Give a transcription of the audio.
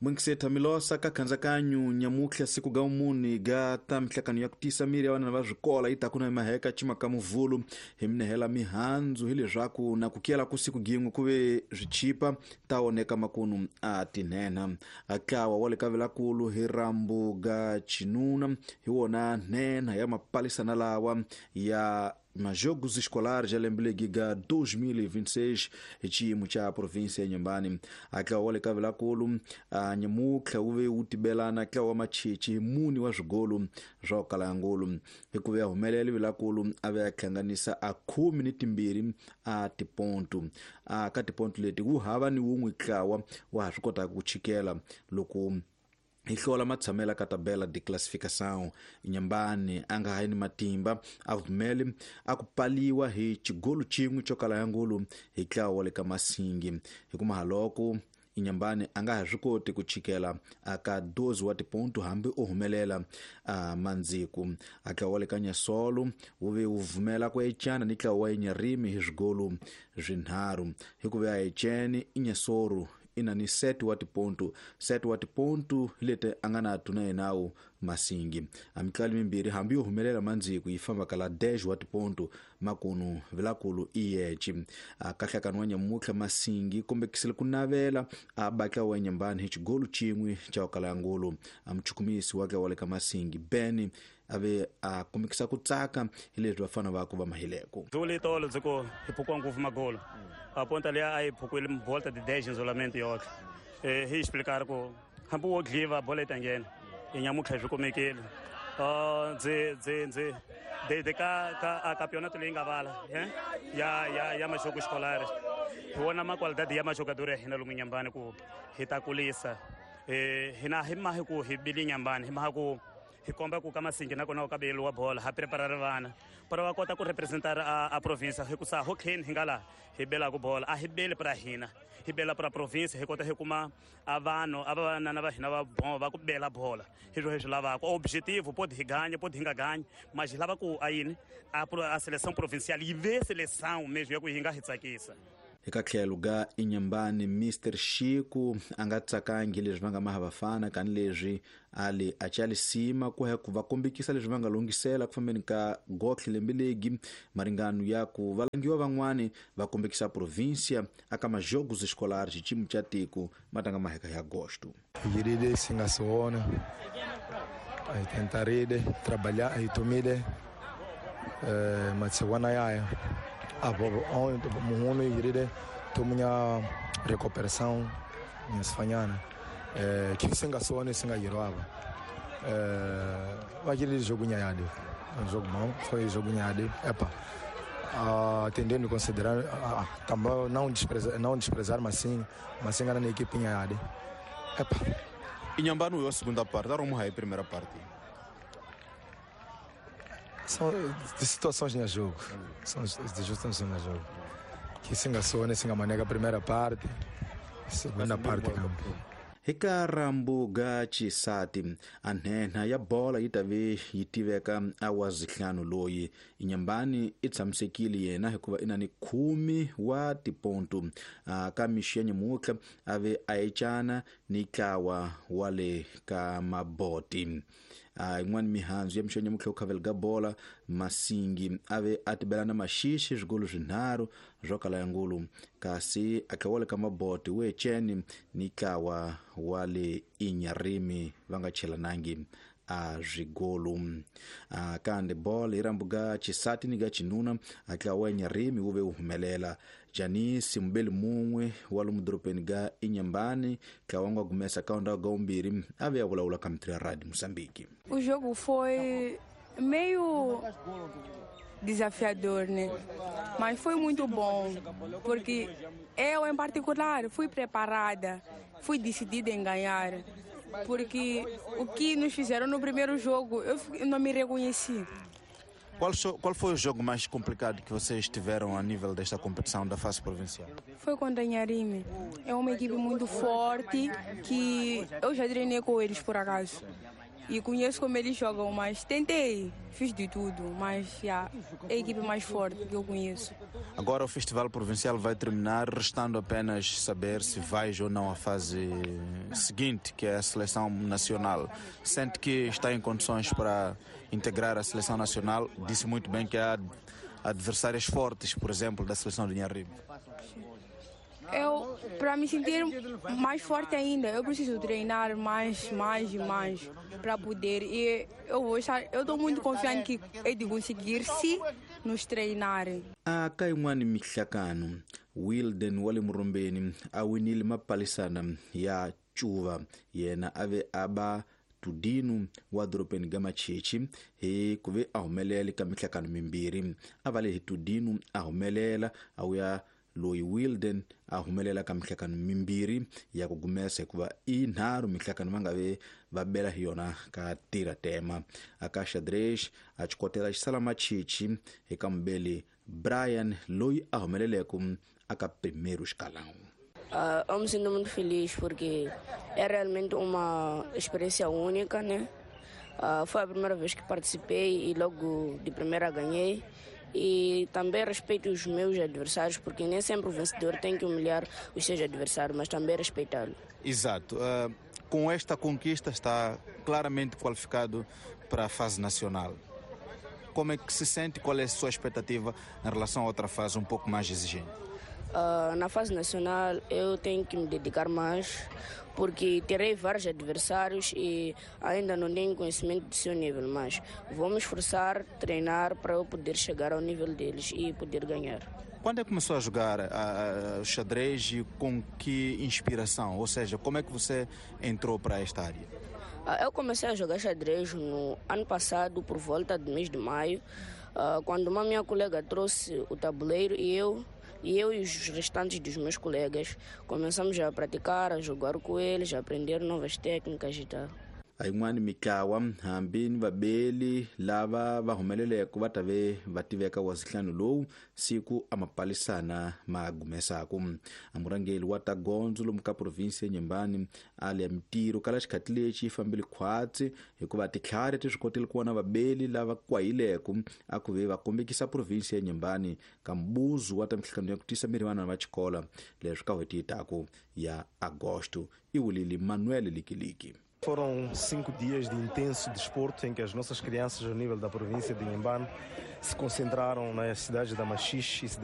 Mwinkiseta Milosa ka khanzakanyu nyamutlha siku ga umuni ga ta mihlakano ya ku tisa miri ya vana va swikola yi ta ku na maheka cimaka muvhulu hi minehela mihandzu hi leswaku na ku kiyela ku siku gin'we ku ve swichipa ta oneka makunu a tinhenha. A tlawa wa le ka vilakulu hi rambu ga chinuna hi wona nhenha ya mapalisana lawa ya majogos escolares ya lembe legi ga 2026 hi xiyimo xa provinsia ya Inhambane. A tlawa wa le ka vilakulu a nyamutlha wu ve wu tibelana tlawa wa machichi hi muni wa swigolo swa ku kala ya ngulu. Hi ku ve ya humelela vilakulu a ve a hlanganisa a 12 a tipontu. A ka tipontu leti wu hava ni wun'we tlawa wa ha swi kotaka ku chikela loko hi hlola matshamela ka tabela de classificação. Inhambane a nga ha yi ni matimba a vumeli a ku paliwa hi xigolo xin'we xo kala ya ngulu hi tlawa wa le ka Masingi. Hi ku mahaloko Inhambane a nga ha swi koti ku chikela a ka 12 wa tipontu hambi o humelela a mandziku. A tlawa wa le ka Nyasolo wu ve wu vumela ku ecana ni tlawa wa Inyarimi hi swigolo swinharhu. Hi ku ve a ecene Inyasoro i na ni 7 wa tipontu, 7 wa tipontu leti a nga na tuna yenawu Masingi. A mitlali mimbirhi hambi yo humelela mandziku yi famba kala 10 wa tipontu makunu vilakulu i yeci. A kahlakano wa nyamutlha Masingi kombekisile ku navela a batla wa Inhambane hi xigolo xin'we xa ku kala ya ngulu. A muchukumisi wa tlawa le ka Masingi Ben a ve a kombekisa ku tsaka hi leswi vafana va ku va mahileko. Dzuli tolo ndzi ku hi phukiwa ngopfu magolo. A ponta liya a yi phukiwile volta de 10 isolamento yotlhe. Hi explicar ku hambi wo dliva bola yi ta nghena. Hi nyamutlha swi kumekile. Ndzi ndzi ndzi de ka ka a campeonato leyi nga vala ya ya ya Mashoko Escolar. Hi vona ma qualidade ya majogador ya hina lomu Inhambane ku hi ta kulisa. Hina hi mahi ku hi bile Inhambane, hi maha ku hi komba ku ka Masingi nakona ka beliwa bola ha prepara vana para va kota ku representar a province hi ku sa ho clean hi nga laha hi belaku bola a hi beli pra hina hi bela pra province hi kota hi kuma a vanhu a vavanana va hina va bon va ku bela bola hi swo hi swi lavaka objetivo pode hi ganya pode hi nga ganyi mas hi lava ku a yini a seleção provincial yi ve seleção mesmo ya ku yi nga hi tsakisa. Eka tlhelo ga Inhambane Mr Xiku a nga tsakangi leswi va nga maha vafana kani leswi a le a chalisima ku ya ku va kombekisa leswi va nga longhisela ku fambeni ka gotlhe lembe legi maringano ya ku valangiwa van'wani va kombekisa provincia aka majogos escolares xiyimo xa tiko matanga maheka ya agosto. Yiride singasona ay tentaride trabalhar ay tomide matsewana yaya abo muhono yiride tomunya recuperação nyasfanyana que singasona singayirwaba vakiri jogo nyayade jogo bom foi jogo nyayade epa tendendo considerar também não desprezar mas sim na equipe nyayade epa. Inhambane a segunda parte, era uma primeira parte. São situações no jogo, são situações no jogo. Que singasona, singamanega a primeira parte, segunda parte campo. Eka rambu ga xisati a nhenha ya bola yi ta ve yi tiveka a wa zihlanu loyi Inhambane i tshamisekile yena hikuva i na ni 10 wa tipontu. Ka mixo ya nyamutlha a ve a ecana ni tlawa wa le ka Maboti. Yin'wana mihandzu ya mixo ya nyamutlha ku khavela ga bola Masingi a ve a tibelana maxixi swigolo swinharhu swo kala ya ngulu kasi a tlawa le ka Maboti we eceni ni tlawa wa le Inyarimi va nga chelanangi a swigolo. Kambe bola hi rambu ga xisati ni ga xinuna a tlawa Inyarimi wu ve wu humelela. Janisi mubeli mun'we wa lomu dorobeni ga Inhambane tlawa nga gumesa ka onda ga umbirhi a ve a vulavula ka mitri ya Radio Moçambique. O jogo foi meio desafiador, né? Mas foi muito bom, porque eu em particular fui preparada, fui decidida em ganhar, porque o que nos fizeram no primeiro jogo, eu não me reconheci. Qual foi o jogo mais complicado que vocês tiveram a nível desta competição da fase provincial? Foi contra Inharime. É uma equipe muito forte que eu já treinei com eles por acaso. E conheço como eles jogam, mas tentei, fiz de tudo, mas yeah, é a equipe mais forte que eu conheço. Agora o Festival Provincial vai terminar, restando apenas saber se vais ou não à fase seguinte, que é a seleção nacional. Sente que está em condições para integrar a seleção nacional? Disse muito bem que há adversárias fortes, por exemplo, da seleção de Inharrime. Eu, para me sentir mais forte ainda, eu preciso treinar mais, mais e mais para poder. E eu estou muito confiante que hei de conseguir se nos treinarem. A Kaiwani Mihlakano, Wilden wale Murumbeni, a winile mapalisana ya chuva, yena ave aba Tudinu wa dorobeni ga Machichi hi ku ve a humelela ka mihlakano mimbirhi. A va le hi Tudinu a humelela a wuya loyi Wilden a humelela ka mihlakano mimbirhi ya ku gumesa hikuva i nharhu mihlakano va nga ve va bela hi yona ka tira tema. Aka xadrez a xikotela xisala Machichi eka mubeli Brian loyi a humeleleke aka primeiro escalão. Eu me sinto muito feliz porque é realmente uma experiência única, né? Foi a primeira vez que participei e logo de primeira ganhei. E também respeito os meus adversários, porque nem sempre o vencedor tem que humilhar os seus adversários, mas também respeitá-lo. Exato. Com esta conquista está claramente qualificado para a fase nacional. Como é que se sente? Qual é a sua expectativa em relação a outra fase um pouco mais exigente? Na fase nacional eu tenho que me dedicar mais, porque terei vários adversários e ainda não tenho conhecimento do seu nível, mas vou me esforçar, treinar para eu poder chegar ao nível deles e poder ganhar. Quando é que começou a jogar xadrez e com que inspiração? Ou seja, como é que você entrou para esta área? Eu comecei a jogar xadrez no ano passado, por volta do mês de maio, quando uma minha colega trouxe o tabuleiro e eu e os restantes dos meus colegas começamos a praticar, a jogar com eles, a aprender novas técnicas e tal. Ayin'wana mitlawa hambi ni vabeli lava va humeleleke va ta ve va tiveka wa zihlanu lowu siku a mapalisana ma gumesaku. A murhangeri wa ta gondzo lomu ka provinsi ya Nyembani a le ya mitirho kala xikhati lexi yi fambile khwatsi hikuva titlhari ti swi kotile ku vona vabeli lava kwahileke a ku ve va kombekisa provinsi ya Nyembani ka mbuzu wa ta mihlangano ya ku tisa miri vana va xikolo leswi ka n'hweti yi taku ya Agosto. I wulile Manuel Likiliki. Foram 5 dias de intenso desporto em que as nossas crianças ao nível da província de Inhambane se concentraram nas cidades da Machixe e cidade